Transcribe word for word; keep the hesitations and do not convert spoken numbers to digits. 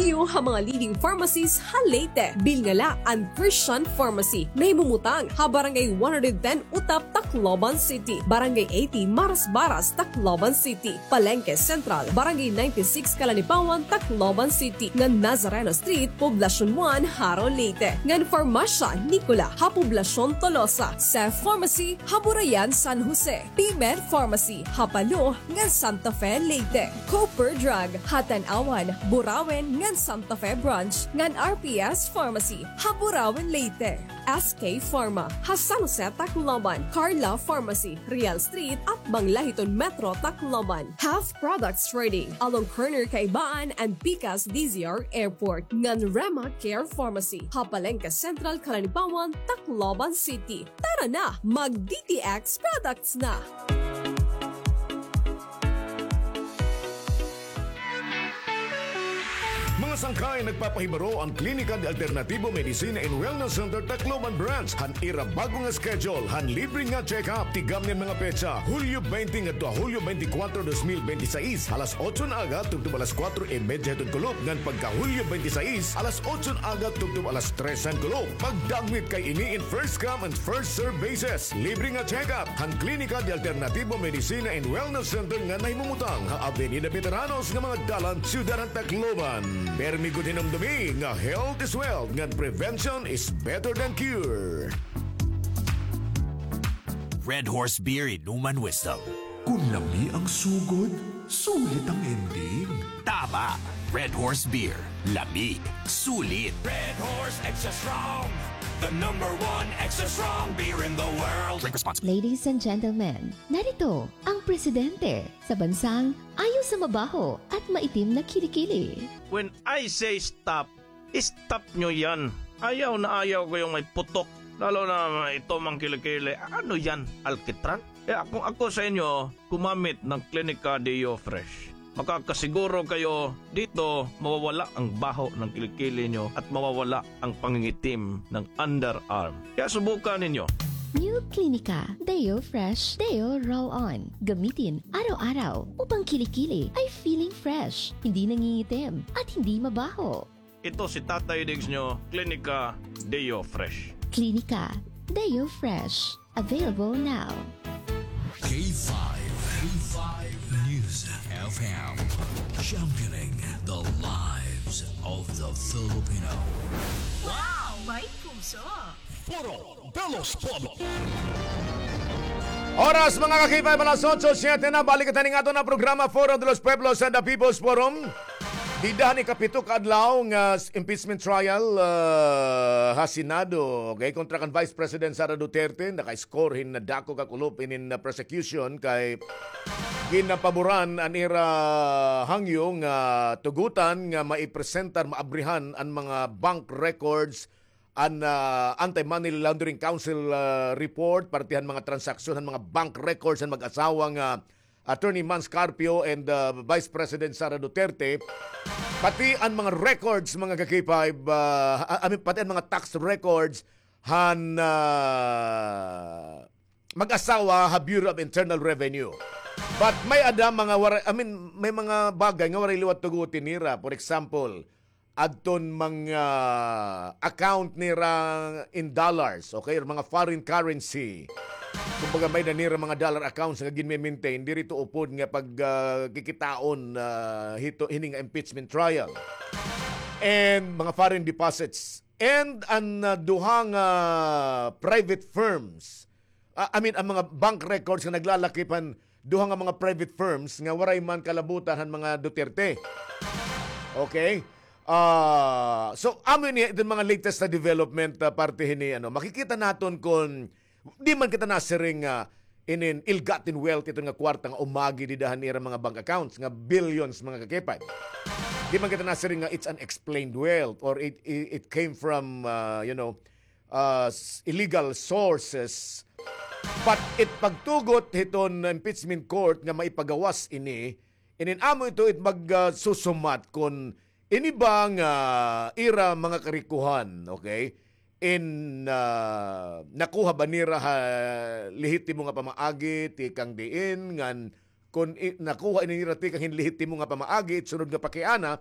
Iyo ha mga leading pharmacies ha Leyte. Bilnga la an Christian Pharmacy. Nahimumutang ha Barangay one hundred ten Utap, Tacloban City, Barangay eighty Marasbaras, Tacloban City, Palengke Central, Barangay ninety-six Calanipawan, Tacloban City, ngan Nazareno Street, Poblacion one, Jaro, Leyte, ngan Farmasya Nicola ha Poblacion Tolosa, Sef Pharmacy ha Burayan, San Jose, P-Med Pharmacy ha Palo ngan Santa Fe, Leyte, Cooper Drug ha Tanauan, Burauen ngan Santa Fe Branch, ngan R P S Pharmacy ha Burauen, Leyte, S K Pharma ha San Jose, Tacloban, Carla Pharmacy, Real Street, atbang la hiton Metro Tacloban, Health Products Trading along corner Kaibaan and Pikas D Z R Airport, ngan Rema Care Pharmacy ha Palengke Central, Calanipawan, Tacloban City. Tara na, mag-D T X products na! Mga sangkay, nagpapahibaro an Klinika de Alternativo Medicina and Wellness Center Tacloban Branch han ira bag-o nga schedule han libre nga check-up. Tigam niyan mga petsa, Hulyo twenty ngadto ha Hulyo twenty-four, dos mil bente y seis, alas otso han aga tubtob alas kuwatro y medya hiton kulop, ngan pagka Hulyo twenty-six, alas otso han aga tubtob alas tres han kulop. Pagdagmit kay ini in first come and first serve basis. Libre nga check-up han Klinika de Alternativo Medicina and Wellness Center nga nahimumutang ha Avenida Veteranos nga mga dalan, Siyudad han Tacloban. Permi gud hinumdumi nga health is wealth, ngan prevention is better than cure. Red Horse Beer, Inuman Wisdom. Kun lami ang sugod, sulit ang ending. Tama! Red Horse Beer. Lami. Sulit. Red Horse Extra Strong, the number one extra strong beer in the world. Drink responsibly. Ladies and gentlemen, narito ang presidente sa bansang ayaw sa mabaho at maitim na kilikili. When I say stop, stop nyo yan. Ayaw na ayaw ko yung may putok. Lalo na may itom ang kilikili. Ano yan? Alkitran? Kaya kung ako sa inyo, gumamit ng Klinika Deo Fresh. Makakasiguro kayo dito, mawawala ang baho ng kilikili nyo at mawawala ang pangingitim ng underarm. Kaya subukan ninyo. New Klinika Deo Fresh Deo Roll-On. Gamitin araw-araw upang kilikili ay feeling fresh, hindi nangingitim, at hindi mabaho. Ito si Tatay Diggs nyo, Klinika Deo Fresh. Klinika Deo Fresh. Available now. K five, K five News F M, championing the lives of the Filipino. Wow! May puso! Foro de los Pueblos. Oras, mga ka-K five, alas otso siyete na. Balik kita ning aton nga programa, Foro de los Pueblos, sa The People's Forum. Dida han ikapito ka adlaw nga s-, impeachment trial, ah, ha Senado. Okay, kontra kan Vice President Sara Duterte, naka-score hin nadako ka kulop inin, ah, prosecution kay ginapaboran an ira hangyo nga tugotan nga maipresentar, maabrihan an mga bank records an, ah, Anti-Money Laundering Council, ah, report, parte han mga transaksyon, han mga bank records han mag-asawa nga Attorney Mans Carpio and, ah, Vice President Sara Duterte, pati an mga records, mga ka-K five, ah, I mean, pati an mga tax records han, ah, mag-asawa ha Bureau of Internal Revenue. But may-ada mga wara-, I mean, may mga bagay nga waray liwat tugotin nira. For example, adton mga account nira in dollars, okay, or mga foreign currency. Kumbaga, may-ada nira mga dollar accounts nga ginme-maintain, diri ito upod nga pag, ah, kikitaon, ah, hito, hini nga impeachment trial. And mga foreign deposits. And an, ah, duha nga private firms, ah, I mean, an mga bank records nga naglalakip han duha nga mga private firms nga waray man kalabutan han mga Duterte. Okay? Ah, so, amo ini iton mga latest na development, ah, parte hini, ano, makikita naton kon di man kita nasiring nga inin ill-gotten wealth, iton nga kwarta nga umagi dida han ira mga bank accounts nga billions, mga ka-K five. Di man kita nasiring nga it's unexplained wealth or it, it, it came from, ah, you know, ah, s-, illegal sources. But it pagtugot hiton impeachment court nga maipagawas ini, inin amo ito it mag, ah, susumat kon ini ba nga ira mga karikohan, okay? In, ah, nakuha ba nira ha lehitimo nga pamaagi, tikang diin, ngan kon i-, nakuha ini nira tikang hin lehitimo nga pamaagi, it sunod nga pakiana,